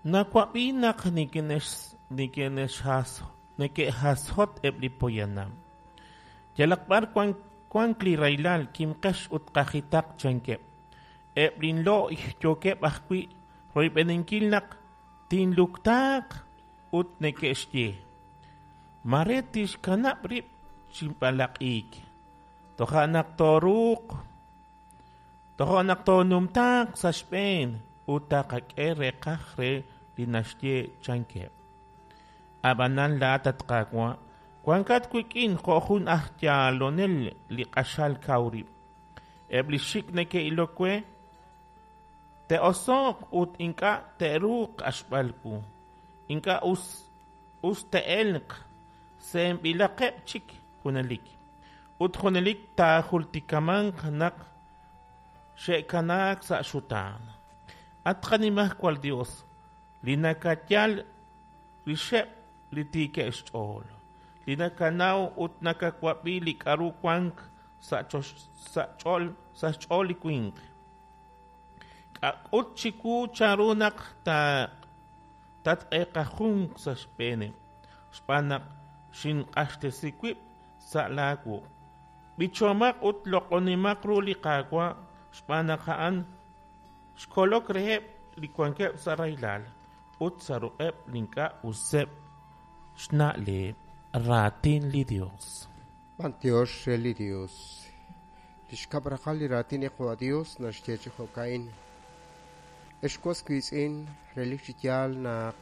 Nawab'i naq neke'hashot eb' li poyanam: “Yalaq b'ar wank li rahilal, kimqex ut qajitaq”, chankeb'. Eb' linlo'y yookeb' ajwi' royb'eninkil naq tinluktaaq ut neke'xye: “Mare tixkanab' rib' chi b'alaq'iik, toja' naq tooruuq toja' naq toonumtaaq sa' xb'een ut taqak'e reeqaj re li naxye”, chankeb'. Ab'anan laa'at, at Qaawa', wankat wik'in jo' jun aj yalonel li q'axal kaw rib'. Eb' li xik' neke'ilok we te'oso'q ut ink'a' te'ruuq q'axb'al wu. Ink'a' us te'elq, se'enb'ilaqeb' chik junelik. Ut junelik taajultikamanq naq xe'kanaak sa' xutaan. At qanimajwal Yos, li nakayal rixeb' li tiikeb' xch'ool, li nakanaw ut nakawab'i li k'aru wank sa' xch'ool li winq. K'ut chiwu chanru naq tatq'eqajunq sa' xb'eeneb', xb'aan naq xinq'axtesi wib' sa' laawuq'. B'ichomaq ut loq'onimaq ru li Qaawa' xb'aan naq a'an xkolok reheb' li wankeb' sa' rahilal ut sa' ruq'eb' li ink'a' useb' xna'leb'. Raatin li Dios. B'antiox re li Dios. Li xkab' raqal li raatin li Qaawa' Dios naxye chi jo'ka'in. Ex was wiitz'in, relik chi yaal naq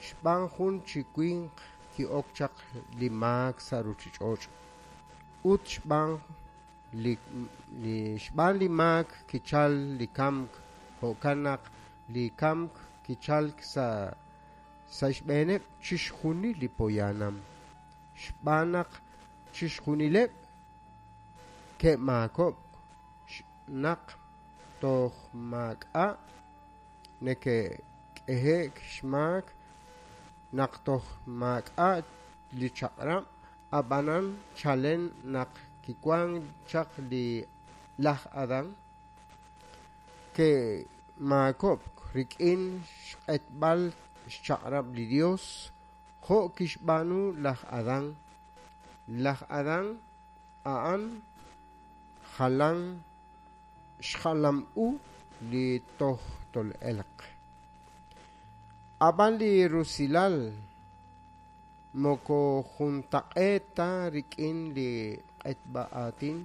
xb'aan jun chi winq ki'ok chaq li maak sa' ruuchich'och' ut xb'aan li xb'aan li maak kichal li kamk, jo'kan naq li kamk kichalk sa' sa' xb'eeneb' chixjunil li poyanam, xb'aan naq chixjunileb' ke'maakob'k naq toj maak'a' neke'k'ehe'k xmaak, naq toj maak'a' li chaq'rab', ab'anan chalen naq kiwank chaq li laj Adán ke'maakob'k rik'in xq'etb'al xchaq'rab' li Dios jo' kixb'aanu laj Adán. Laj Adán a'an jalan xjalam u li toj tol'elq. Ab'an li rusilal moko juntaq'eet ta rik'in li q'etb'a aatin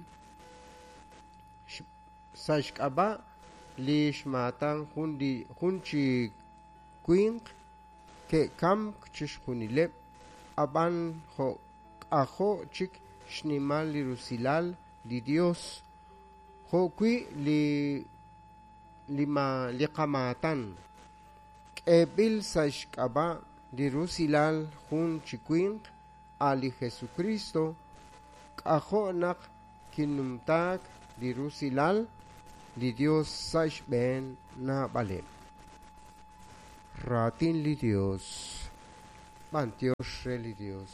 sa' xk'ab'a' li xmaatan jun chi winq ke'kamk chixjunileb', ab'an jo' k'ajo' chik xnimal li rusilal li Dios jo'wi' li qamaatan k'eeb'il sa' xk'ab'a' li rusilal jun chi winq, a' li Jesucristo, k'ajo' naq kinumtaak li rusilal li Dios sa' xb'een naab'aleb'. Raatin li Dios. B'antiox re li Dios.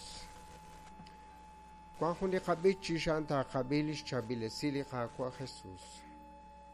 Wank jun li qab'ich chi xa'an taaqab'i li xchaab'ilesi li Qaawa' Jesus.